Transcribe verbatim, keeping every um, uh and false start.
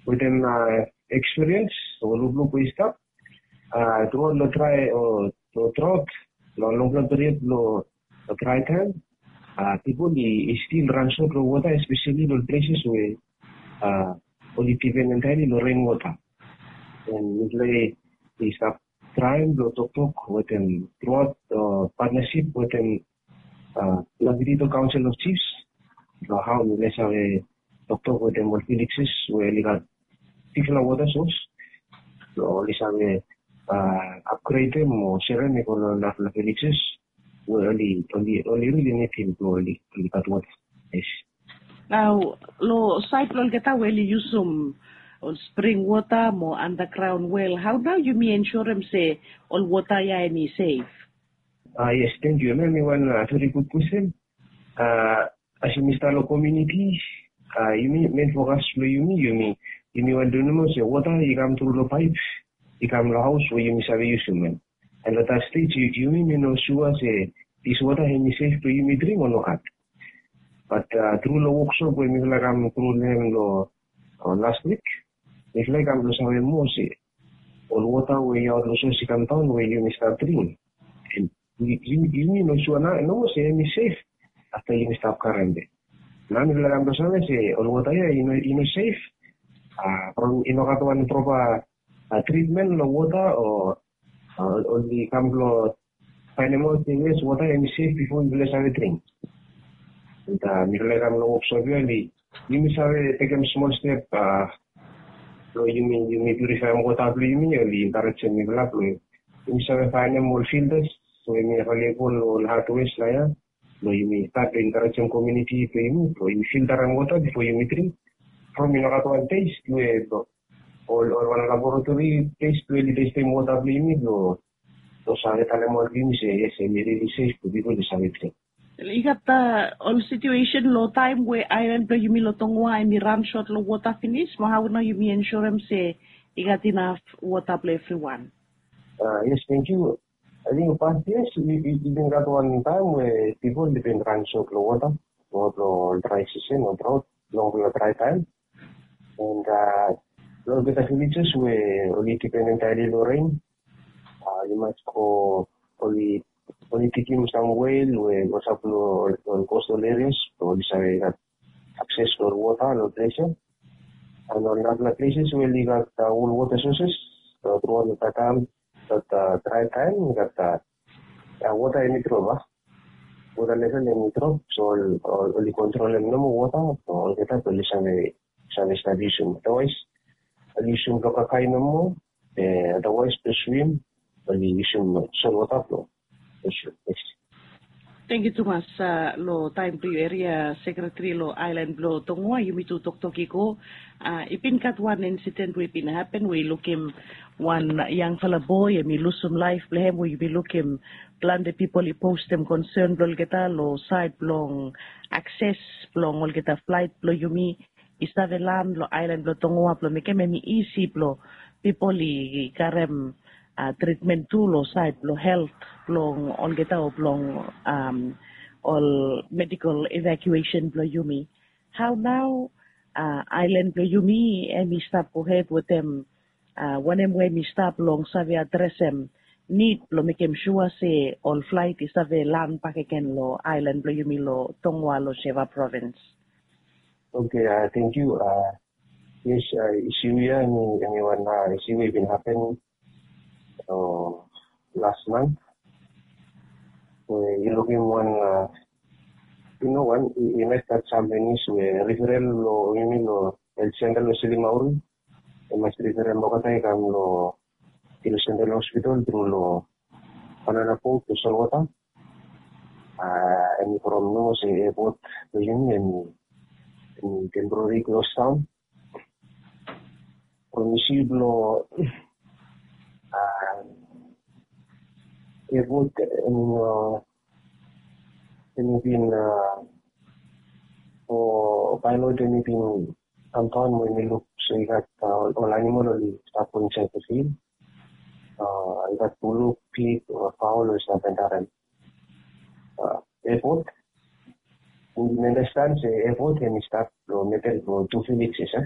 wetem ekspiriens o lukluk we i stap, truaot long drai o drought, long longpela period long drai taim, pipol i stil ran sot long wota, espeseli long places we ol i dipen entaili long ren wota. And mipela i stap traim long toktok wetem truaot patnasip wetem Nabitito Council of Chiefs, long hau mipela i save toktok wetem ol villages we oli gat bikfala wota sos, long oli save upgradem o serem i go long narafala villages we oli oli oli rili nidim blong oli oli gat wota. Yes. Nau, long sait blong olgeta we oli yusum ol spring wota mo underground well, hau nau yumi ensurem se ol wota ya em i sef? Ah, yes, thank you. Em i wan very good question. As yumi stap long komuniti, yumi, main focus blong yumi, yumi yumi wan tu nomo se wota i kam tru long paip, i kam long haus we yumi save yusum em. And long that stage yumi mi no sua se this wota em i sef blong yumi dring o nogat. But tru long woksop we mipela kam tru long em long last week, mipela i kam blong save moa se ol wota we i aot long sos i kam daon we yumi stap dring, yumi no sua nomo se em i sef afta yumi stap karem. Nau mipela kam blong save se ol wota ya i no sef. From i no gat wan propa tritmen long wota, o oli kam blong fainemaot se yes, wota em i sef bifo yupela save dring. And mipela i kam long woksop ya, oli yumi save tekem smol step blong yumi yumi piurifaem wota blong yumi, oli enkarejem mipela blong yumi save faenem ol filtas we yumi available long ol hardwares na ya, blong yumi stat long enkarejem komuniti blong yumi blong yumi filtarem wota bifo yumi dring. From i no gat wan test we ol ol wan laboratori test we oli testem wota blong yumi blong save talemaot long yumi se yes, em i rili sef blong pipol i save dring. I gat ol situesen long taim we ailan blong yumi long Tongoa em i ran sot long wota finis, mo hau nau yumi ensurem se i gat inaf wota blong evriwan? Yes, thank you. Ating past years i bin gat wan taim we pipol i bin ran sot long wota, long ol drai sisen o drought, long ol drai taim. And long olgeta villages we oli dipen entaili long ren, i mas go oli oli digim sam wel we go stap long ol coastal areas blong oli save gat akses long ol wota long ples ya. And ol narapela places we oli gat ol wota sources, throughout long that time, that dry time, that wota em i drop a, wota level em i drop, so oli kontrolem nomo wota blong olgeta blong oli save save stap yusum. Otherwise oli yusum blong kakae nomo, otherwise blong swim oli yusum solwota blong. Thank you tumas long taim blong yu, eria sekretari long ailan blong Tongoa. Yumi tu toktok i go, i bin gat wan insiden we i bin hapen we i lukim wan yangfala boe em i lusum laef blong hem, we yumi lukim plante pipol i postem konsen blong olgeta long sait blong akses blong olgeta flaet blong yumi i save lan long ailan blong Tongoa blong mekem em i isi blong pipol i karem tritmen tu long sait blong helt blong olgeta o blong ol medikol evakuesen blong yumi. Hau nau ailan blong yumi em i stap gohed wetem wanem we em i stap long save adresem nid blong mekem sua se ol flaet i save lan bakegen long ailan blong yumi long Tongoa long Seva provins? Oke, thank you. Yes, isu ya em i wan isu we i bin hapen las mant, we i lukim wan, i no wan, i mes gat sam penis we referral long yumi long health center long Silimauri. I mas referral olgeta i kam long Hilo Central Hospital tru long banana boat long solwota. Em i from nomo se airport blong yumi em i temporary close down. From isi blong airport em i no, em i bin o pilot em i bin kam daon mo em i luk se i gat ol animal oli stap go insaed long fil. I gat buluk, pig o paol oli stap entarem airport. Mi understand se airport em i stap long medel blong tu villages, a.